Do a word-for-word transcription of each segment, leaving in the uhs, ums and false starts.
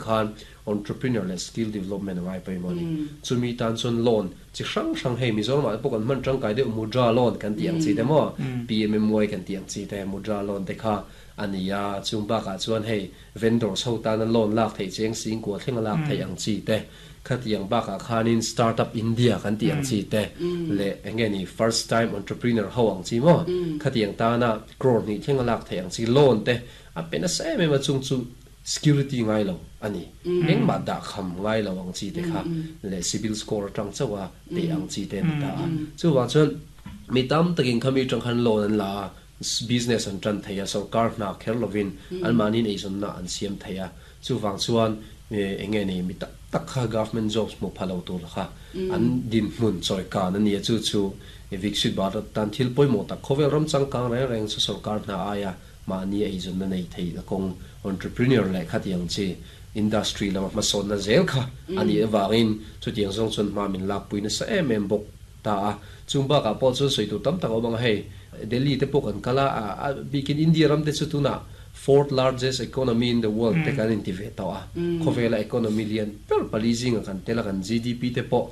khan entrepreneur le skill development ngai pai mo ni chumi tan chun loan chi hrang hrang hei Mizoram ah pawh kan hman tangkai deuh mudra loan kan ti ang chi te maw P M M Y kan ti ang chi te mudra loan te kha ania chung bakah chuan hei vendors ho tana loan lak thei cheng sing ko thlenga lak thei ang chi te khatiang bakah khanin Startup India kan ti ang chi te le enge ni first time entrepreneur ho ang chi mo khatiang tana crore ni thlenga lak thei ang chi loan te a pena se me ma chung chu security ngai lo ani eng ma da kham ngai lo ang chi te kha le CIBIL score tang chawa te ang chi te ni ta chu wa chuan mi tam takin khami tang khan loan an la business an tran theia sarkar na kher lovin an manin ei zon na an siam theia chu wang chuan enge ni mi tak tak kha government jobs mo phalo tur kha an din hmun choi ka na ni chu chu Viksit Bharat tan thil poi mo tak khovel ram chang kang reng reng chu sarkar na aya ma ni ei zon na nei thei la kong entrepreneur le khatiang chi industry lama ma son na zel kha ani awangin chu tiang zong chun ma min lak puina sa em em bok ta a chungba ka pawh chu soi tu tam tak awang hei Delhi te pawh kan kala a bikin India ram te chu tuna fourth largest economy in the world te kan in ti ve to a khawvela economy lian per pali zinga kan tela kan G D P te pawh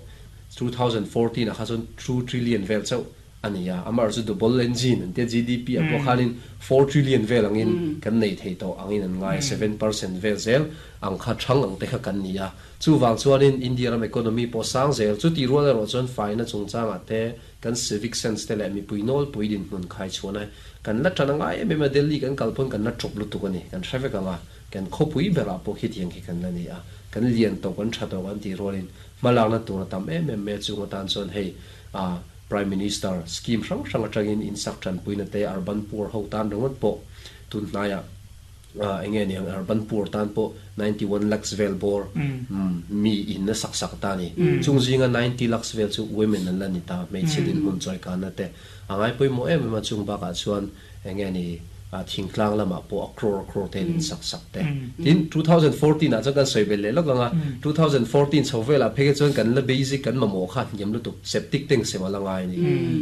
twenty fourteen a kha chun two trillion vel chau ania amar chu double engine an te G D P a pawh khanin four trillion vel angin kan nei thei to angin an ngai seven percent vel zel ang kha thang ang te kha kan nia chu wang chuanin India ram economy pawh sang zel chu ti rual erawh chuan faina chungchanga te kan civic sense te leh mipui nawl pui din hmun khai chuan kan la tana ngai em em a Delhi kan kalphun kan la chop lutuk ani kan hrevek anga kan khawpui berah pawh khi tiang khi kan la ni a kan lian to kan tha to kan ti rualin hmalak na tur tam em em me chung atan chuan hei a prime minister scheme hrang hrang atangin in sak than puina te urban poor ho tan ringawt pawh tun hnaiah enge ni ang urban poor tan pawh ninety-one lakhs vel bor mi in na sak sak ta ni chung zinga ninety lakhs vel chu women an la ni ta hmeichhe din hmun choi kan na te angai pui mo em em a chung bakah chuan enge ni a thingtlang lama pawh a crore crore te in sak sak te tin twenty fourteen a chuan kan soi bel le lok anga twenty fourteen chho vela pheke chuan kan la basic kan mamo kha ngem lu tuk septic tank sema langai ni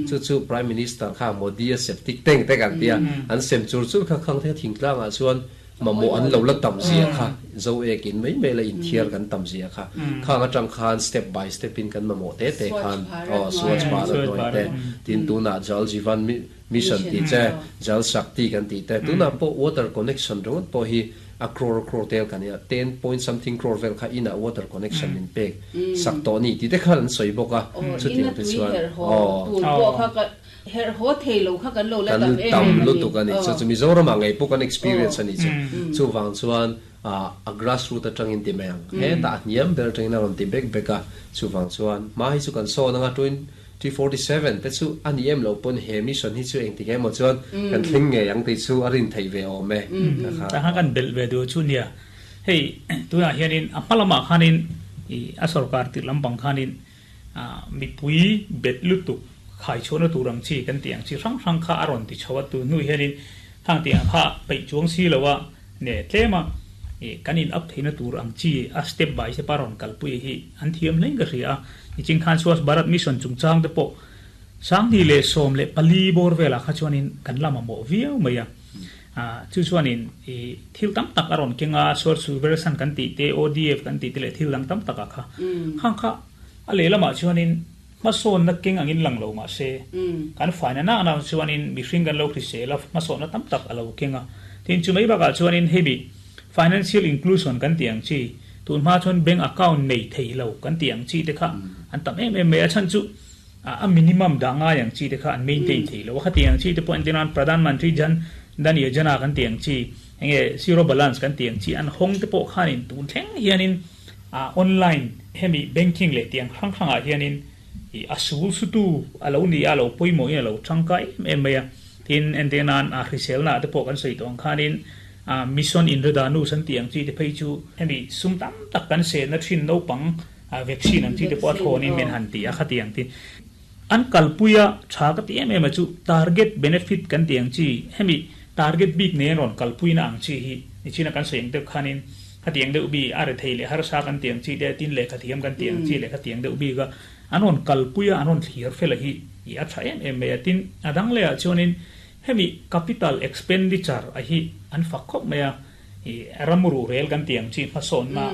chu chu prime minister kha Modi a septic tank te kan tia an sem chur chur kha khang the thingtlang a chuan mamo an lo la tam zia kha zo ekin mai mai la in thiar kan tam zia kha kha nga tang khan step by step in kan mamo te te khan oh Swachh Bharat noi te tin tuna Jal Jeevan Mission ti che Jal Shakti kan ti te tuna po water connection rongot po hi a crore crore tel kan ya ten point something crore vel kha ina water connection min pek sak to ni ti te khan soi boka chu ti te chuan oh tu po kha ka her ho thei lo kha kan lo la tam tam lu tu kan ni chu chu Mizoram angai po kan experience ani chu chu wang chuan a a grassroot atangin ti meng he ta niam ber tangin ron ti bek beka chu wang chuan ma hi chu kan so na nga twenty forty-seven te chu ani em lo pon he mission hi chu eng ti ge mo chuan kan thling nge yang ti chu arin thei ve o me kha ta kan bel ve du chu nia hei tuna hianin a palama khanin i a sarkar ti lampang khanin a mi pui bet lutuk khai chona turang chi kan tiang chi rang rang kha aron ti chawa tu nu hianin thang tiang kha pai chuang si lawa ne tlema e kanin up theina tur ang chi a step by step aron kalpui hi an thiam leng ka ria i ching khan Swachh Bharat Mission chung chang te po sang ni le som le pali bor vela kha chuanin kan lama mo viau maya a chu chuanin e thil tam tak aron kenga sor su version kan ti te O D F kan ti te le thil lang tam tak kha khang kha a le lama chuanin ma son na keng angin lang lo ma se kan faina na na chuanin mi hring kan lo khri se la ma son na tam tak alo kenga tin chu mai baka chuanin heavy financial inclusion kan tiang chi tun ma chuan bank account nei thei lo kan tiang chi te kha an tam em em me a chan chu a minimum da nga yang chi te kha an maintain thei lo kha tiang chi te point tinan Pradhan Mantri Jan Dhan Yojana kan tiang chi enge zero balance kan tiang chi an hong te po khanin tun thleng hianin a online hemi banking le tiang hrang hrang a hianin i asul su tu alo ni alo poimo in alo tangka em em maya tin entenan a hrisel na te po kan sei tong khanin a Mission Indradhanush san tiang chi te phei chu hemi sum tam tak kan se na thin no pang a vaccine ang chi te po thonin men han ti a kha tiang ti an kalpuya tha ka ti em em chu target benefit kan tiang chi hemi target big ne ron kalpuina ang chi hi ni china kan seng te khanin kha tiang deuh bi are thei le har sa kan tiang chi te tin le kha thiam kan tiang chi le kha tiang deuh bi ga anon kalpuya anon thlir fel hi i a tha em em me tin adang le a chuanin hemi capital expenditure a hi an fak khop maya i ramuru rel kan tiang chi phason na.